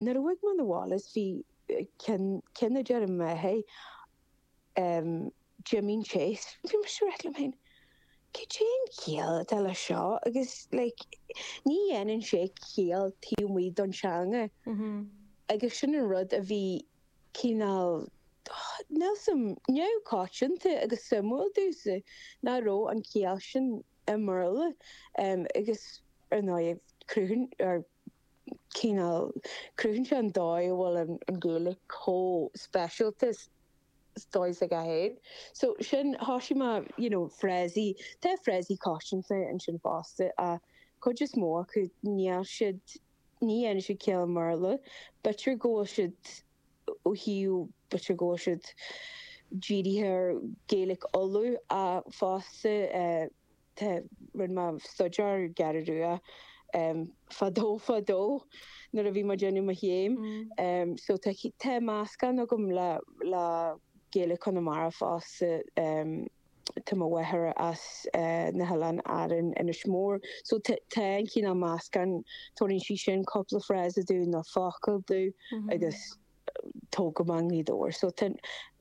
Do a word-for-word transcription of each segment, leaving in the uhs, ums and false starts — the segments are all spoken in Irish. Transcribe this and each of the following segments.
Nuair a bhog mé 'na bhaile is bhí ceann ceann a deir mé hey um Jimín Chase bhí mise ag rá liom féin cad é an chiall atá le seo agus like ní dhéanann sé ciall taobh amuigh don teanga agus sin an rud a bhí cineál níl 's a'm neamhchoitianta agus suimiúil domhsa nach raibh an chiall sin i mBéarla um agus ar ndóigh cruthaíonn or cineál cruthaíonn sé an dóigh a bhfuil an an Ghaeilge chomh speisialta is dóigh s'aige féin. So sin thosaigh mé you know frásaí tá frásaí coitianta ansin fosta ach cuid is mó acu níl siad ní dhéanann siad ciall i mBéarla. B'fhéidir go bhfuil siad ó thaobh b'fhéidir go bhfuil siad dírithe ar Gaeilge Uladh ach fosta eh, tá rinne mé staidéar ar an gCeathrú Rua um, fadó fadó nuair a bhí mé ag déanamh mo chéim. Um, so tá tá meascán agam le le Gaeilge Chonamara fosta um, tá mo mháthair as uh, na hOileáin Árann Inis Mór. So tá an cineál meascán tabharann sí sin cúpla frása domh nó focal domh agus tógaim i nGaoth Dobhair. So tá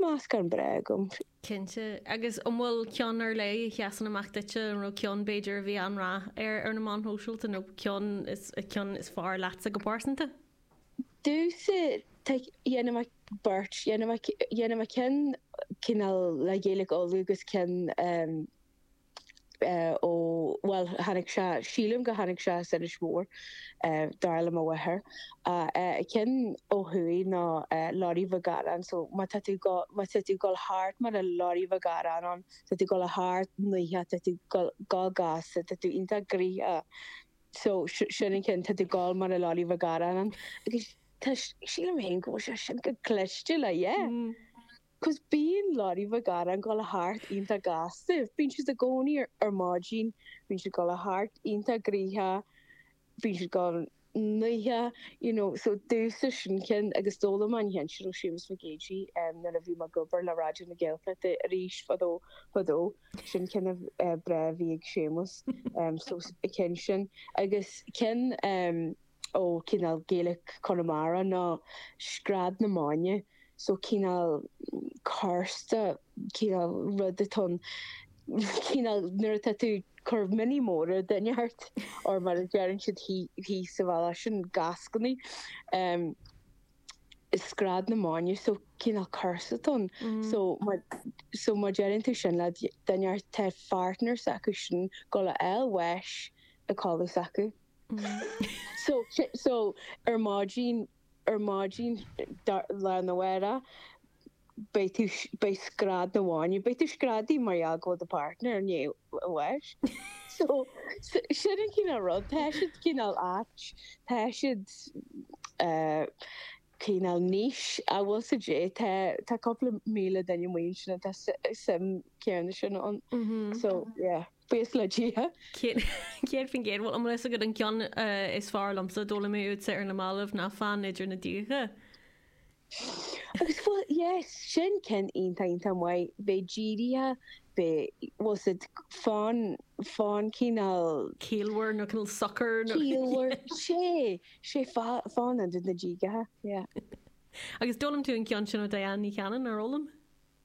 meascán breá agam. Cinnte agus an bhfuil ceann ar leith a sheasann amach duitse an raibh ceann b'fhéidir a bhí an-rath ar ar na meáin shóisialta nó ceann is ceann is fearr leatsa go pearsanta? Domhsa dhéanfainn beirt dhéanfainn ceann cineál le Gaeilge Uladh agus ceann um, uh, ó well tháinig sé sílim go tháinig sé as Inis Mór uh, dar le mo mháthair uh, uh, ceann ó thuaidh ná uh, Lorry Mhic Gearáin so má tá tú go má tá tú gul thart mar a Lorry Mhic Gearáin ann tá tú gul thart nuithe tá tú go gas tá tú iontach gnoitheach so sin an ceann tá tú gul mar a Lorry Mhic Gearáin ann agus tá sílim féin go bhfuil sé sin go cliste le yeah. Mm. Cos bíonn Lorry Mhic Gearáin gul thart iontach gasta, bíonn siad i gcónaí ar, ar maidin, bíonn siad gul thart iontach gnoitheach, bíonn siad gul gnoitheach, you know, so domhsa sin ceann agus d'fhoghlaim mé an ceann sin ó Séamus Mac Géidigh um, nuair a bhí mé ag obair le Raidió na Gaeltachta arís fadó fadó sin ceann uh, breá a bhí ag Séamus um, so ceann sin agus ceann um, ó cineál Gaeilge Chonamara ná scread na maidne so cineál cúrsa cineál rud atá cineál nuair atá tú cur mionnaí móra duine ort or mar a deireann siad thíos sa bhaile sin gascannaí um, scread na maidne so cineál cúrsa ann so mar so má deireann tú sin le duine tá partner s'acu sin go le bháis a codladh s'acu. So so ar maidin ar maidin lá na bhera beidh tú beidh scread na maidne beidh tú screadaí mar gheall go bhfuil do partner ní bháis. So sin an cineál rud tá siad cineál ait tá siad uh, cineál niche a bhfuil sa dé tá tá cúpla míle duine amuigh sin atá suim céanna sin ann. So yeah buíochas le Dia. Céad faoin gcéad bhfuil an leis go an ceann is fearr liomsa d'fhoghlaim mé uaitse ar na mallaibh ná fan idir na díocha. Agus well yes sin ceann iontach iontach maith bheith dírithe bheith bhfuil siad fan fan cineál Ciallmhar nó cineál socair nó ciallmhar sé sé fan idir na díocha yeah. Agus d'fhoghlaim tú an ceann sin ó Diane Ní Chanainn ar fhoghlaim?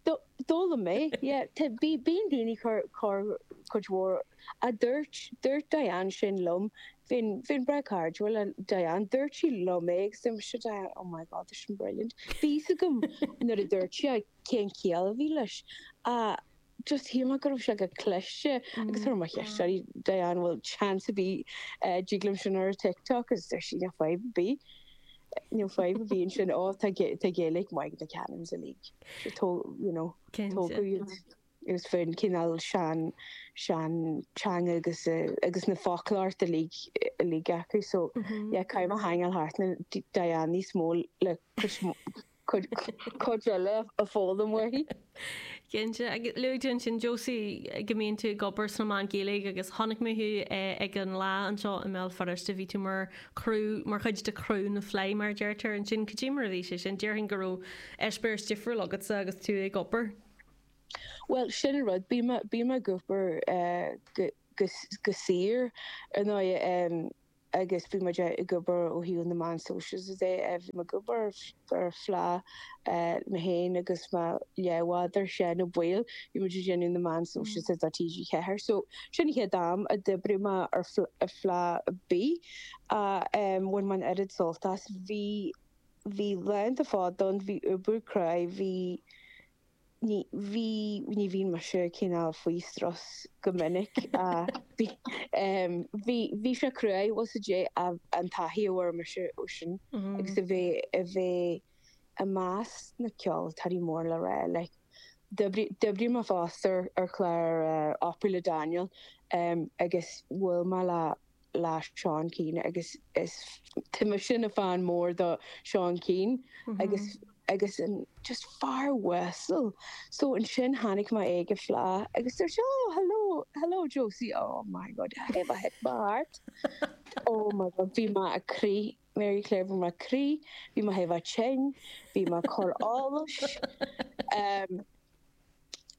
D'fhoghlaim mé yeah tá bí bíonn daoine chur chur cuid mhór a dúirt dúirt Diane sin liom bhín bhín breá cairdiúil le Diane dúirt sí liom é agus dúirt mise Diane oh my god tá sin brilliant. Bhí a fhios agam nuair a dúirt sí cén chiall a bhí leis a just shíl mé go raibh sé go cliste agus chuir mé ceist uirthi Diane bhfuil chance a bhí dtig liom sin ar TikTok agus dúirt sí níl fadhb ar bith. Níl fadhb ar bith ansin ó tá tá Gaeilge maith na Canons uilig. tó you know tógadh iad agus faoin cineál sean sean teanga agus agus na foclóir uilig uilig acu so yeah caithfidh mé hangáil thart na Diane níos mó le cuid cuid eile a foghlaim uaithi. Cinnte agus luaigh tú ansin Josie go mbíonn tú ag obair sna meáin Ghaeilge agus chonaic mé thú ag an lá anseo i mBéal Feirste bhí tú mar crew mar chuid de crew na Fleadh mar deirtear ansin cad é mar a bhí sé sin déarfainn go raibh eispéireas difriúil agatsa agus tú ag obair. Well sin an rud bí bí ag obair uh, go, go, go saor ar ndóigh um, Agus bhí muid ag obair ó thaobh na meán sóisialta de, bhí mé ag obair ar Fleadh mé féin agus mo leathbhádóir Seán Ó Baoill, bhí muid ag déanamh na meán sóisialta do T G Ceathair. So sin an chéad am a d'oibrigh mé ar Fleadh ar bith ach bhain mé an oiread sult as. Bhí bhí laethanta fada ann, bhí obair cruaidh, bhí Ní bhí ní bhíonn mise cineál faoi strus go minic ach bhí bhí bhí sé cruaidh bhfuil 's a'd an taithí a fuair mise ó sin agus a bheith a bheith i measc na ceoltóirí mór le rá like d'oibrigh d'oibrigh mé fosta ar chlár Opry le Daniel agus bhuail mé le le Seán Keane agus is tá mise ina fan mór do Seán Keane agus agus an just fear uasal. So ansin tháinig mé ag an Fleadh agus dúirt sé oh hello hello Josie oh my god have I hit my heart oh my god bhí mé ag crith Mary Claire bhí mé ag crith bhí mé thar a bheith tinn bhí mé ag cur allais um,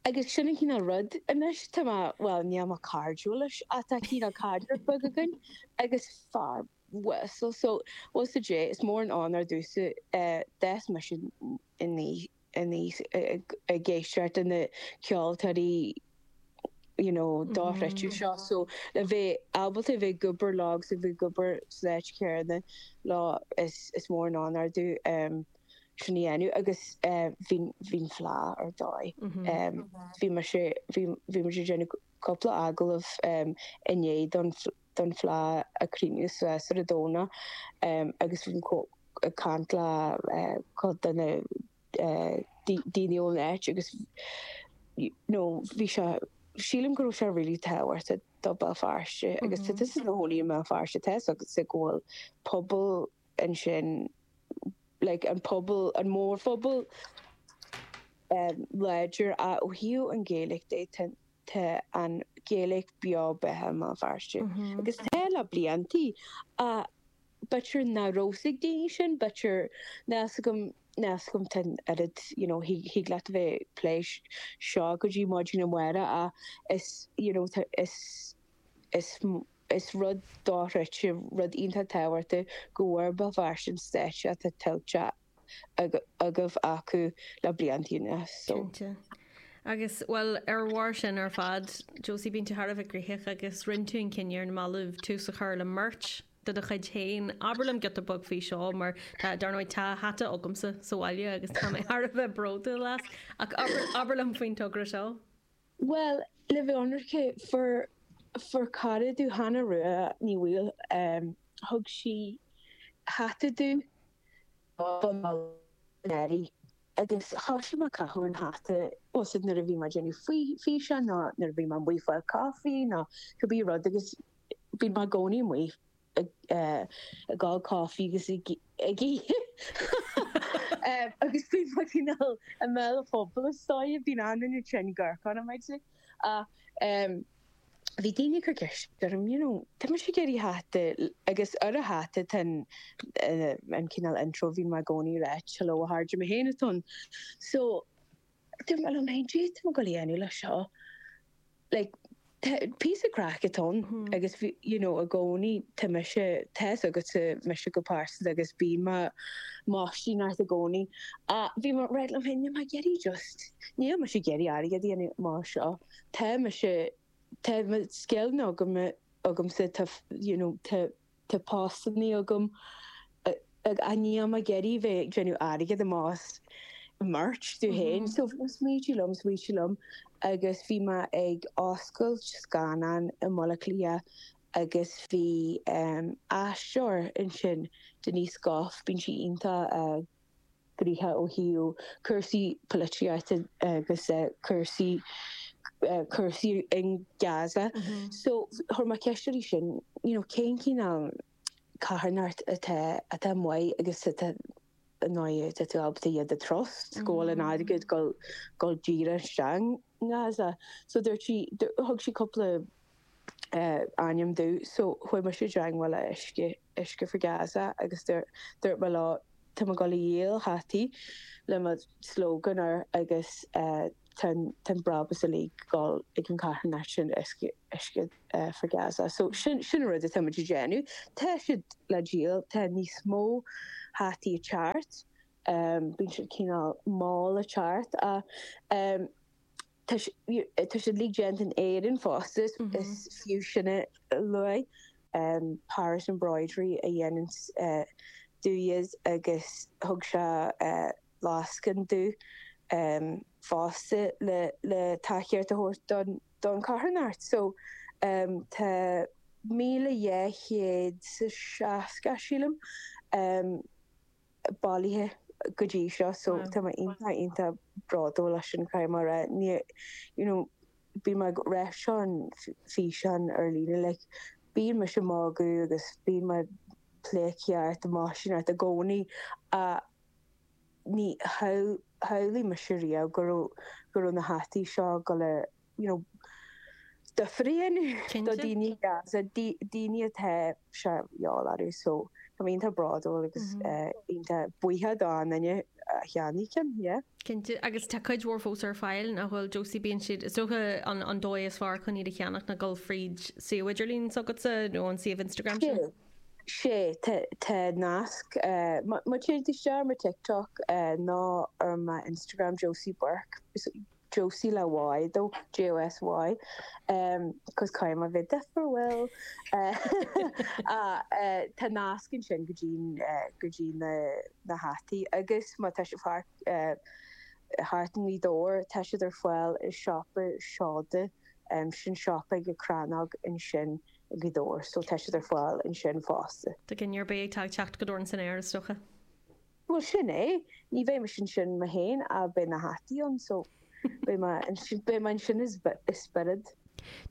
Agus sin an cineál rud anois, tá mé, bhuel, níl mé cairdiúil leis ach tá cineál caidreamh beag againn agus fear uasal so bhfuil 's a'd, is mór an onóir domhsa, d'fhás mise aníos ag éisteacht le na ceoltóirí you know dochreidte seo so le bheith ábalta a bheith ag obair leo agus a bheith ag obair san áit chéanna leo is is mór an onóir domh. Sin a dhéanamh agus bhí bhí an Fleadh ar dóigh. Bhí mise bhí bhí muid ag déanamh cúpla agallamh inné don don Fleadh a críochnú suas ar an Domhnach agus bhí ag caint le cuid de na daoine ón áit agus you know bhí sé sílim go raibh sé really tábhachtach do Béal Feirste agus tá tusa i do chónaí i mBéal Feirste tá 's agatsa go bhfuil pobal ansin like an pobal, an mórphobal láidir ach ó thaobh an Ghaeilge de tá tá an Ghaeilge beo beatha i mBéal Feirste agus tá le bliantaí ach b'fhéidir nach raibh 's ag daoine sin, b'fhéidir níl 's agam níl 's agam tá an oiread you know thig thig leat a bheith ag plé seo go dtí maidin amárach ach is you know tá is is Is rud dochreidte, rud iontach tábhachtach go bhfuair Béal Feirste an stáitse atá tuillte agaibh acu le blianta anuas. So. Cinnte. Agus, bhuel, ar bharr sin ar fad, Josie, bíonn tú thar a bheith gnoitheach agus rinne tú an cinneadh ar na mallaibh tús a chur le merch de do chuid féin. Abair liom giota beag faoi seo mar tá, dar ndóigh, tá hata agamsa sa bhaile agus tá mé thar a bheith bródúil as. Ach abair, abair liom faoin togra seo. Bhuel, le bheith ionraic, fuair, fuair cara domh, Hannah Rua Ní Bhaoill, thug sí hata domh don Nollaig anuraidh agus thosaigh mé ag caitheamh an hata, bhfuil 's a'd nuair a bhí mé ag déanamh físeán nó nuair a bhí mé amuigh ag fáil caife nó cibé rud agus bíonn mé i gcónaí amuigh ag ól caife agus ag ithe agus bíonn mé cineál i mbéal an phobail is dóigh, bíonn an-duine tinn gorcán i m'aghaidh. Ach bhí daoine ag cur ceist orm, you know, tá mise ag iarraidh hata agus ar an hata tá an cineál intro a bhíonn mé i gcónaí ag ráit, hello a chairde, mé féin atá ann. So dúirt mé liom féin, cad tá mé ag dul a dhéanamh leis seo? Like, píosa craic atá ann agus bhí, you know, i gcónaí tá mise, tá's agatsa mise go pearsanta agus bíonn mé maistín ort i gcónaí. Ach bhí mé ag rá liom féin, níl mé ag iarraidh just, níl mise ag iarraidh airgead a dhéanamh amach as seo. Tá mise, tá mo scileanna agam, agamsa, tá, you know, tá, Tá postannaí agam ach níl mé ag iarraidh bheith ag déanamh airgead amach as merch domh féin. So smaointigh liom, smaointigh liom agus bhí mé ag oscailt scannán i mBaile Átha Cliath agus bhí aisteoir ansin, Denise Gough, bíonn sí iontach gnoitheach ó thaobh cúrsaí polaitíochta agus cúrsaí cúrsaí in Gaza. So chuir mé ceist uirthi sin, you know, cén cineál carthanacht atá atá maith agus atá i ndóigh tá tú ábalta iad a trust go bhfuil an airgead gul gul díreach isteach i nGaza. So dúirt sí thug sí cúpla ainm domh so chuaigh mise i dteangmháil le Uisce, Uisce for Gaza agus dúirt mé leo tá mé ag dul a dhíol hataí le mo slogan air agus tá an brabús uilig ag dul ag an carthanacht sin Uisce for Gaza. So sin sin rud atá muid ag déanamh. Tá siad le díol, tá níos mó hataí ag teacht, bíonn siad cineál mall ag teacht ach tá siad uilig déanta in Éirinn fosta, is fiú sin a lua. Paris Embroidery a dhéanann dúinn agus thug sé lascaine dúinn fosta le le tacaíocht a thabhairt don don carthanacht. So tá míle dhá chéad is a seasca sílim bailithe go dtí seo so tá mé iontach iontach bródúil as sin caithfidh mé a rá. Ní you know bíonn mé ag rá seo an físeán ar líne like bíonn mise ag magadh agus bíonn mé pleidhcíocht máisineacht i gcónaí ach ní shamhlaigh mise riamh go raibh go raibh na hataí seo ag dul a you know difear a dhéanamh do daoine i Gaza, daoine atá sé de dhíobháil orthu so tá mé iontach bródúil agus iontach buíoch don duine a cheannaigh ceann, yeah. Cinnte, agus tá cuid mhór fós ar fáil, nach bhfuil Josie, bíonn siad, is dócha an an dóigh is fearr chun iad a cheannach ná dul fríd suíomh idirlín s'agatsa nó an suíomh Instagram sin? Sea, tá nasc, má téann tú isteach ar mo TikTok nó ar mo Instagram Josie Burke, Josie le Y though, J O S Y, cos caithfidh mé bheith difriúil. Tá nasc ansin go dtí go dtí na na hataí agus má tá sibh thart thart i nGaoth Dobhair tá siad ar fáil i siopa Seoda, sin siopa ag an Chrannóg ansin i Gaoth Dobhair, so tá siad ar fáil ansin fosta. Do dhuine ar bith atá ag teacht go Dorn san aer is dócha. Bhuel sin é, ní bheidh mise ansin mé féin ach beidh na hataí ann so beidh mé beidh mé ansin i spiorad.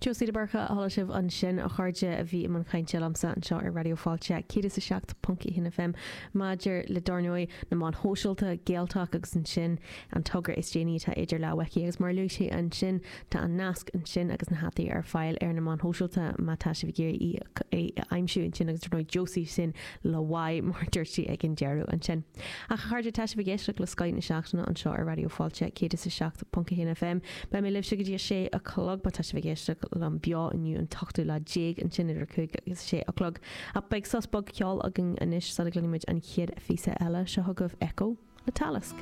Josie de Búrca a chuala sibh ansin a chairde a bhí i mbun cainte liomsa anseo ar Raidió Fáilte céad is a seacht ponc a haon F M maidir le dar ndóigh na meáin shóisialta Gaeltalk agus ansin an togra is déanaí atá idir lámha aici agus mar a luaigh sí ansin tá an nasc ansin agus na hataí ar fáil ar na meáin shóisialta má tá sibh ag iarraidh í a aimsiú ansin agus dar ndóigh Josie sin le Y mar dúirt sí ag an deireadh ansin. Ach a chairde tá sibh ag éisteacht le Scoth na Seachtaine anseo ar Raidió Fáilte céad is a seacht ponc a haon F M. Beidh mé libhse go dtí a sé a chlog má tá sibh ag éisteacht liom beo inniu an t-ochtú lá déag ansin idir cúig agus sé a chlog. Ach beidh sos beag ceoil againn anois sula gcluinfimid an chéad phíosa eile seo chugaibh Echo le Talisk.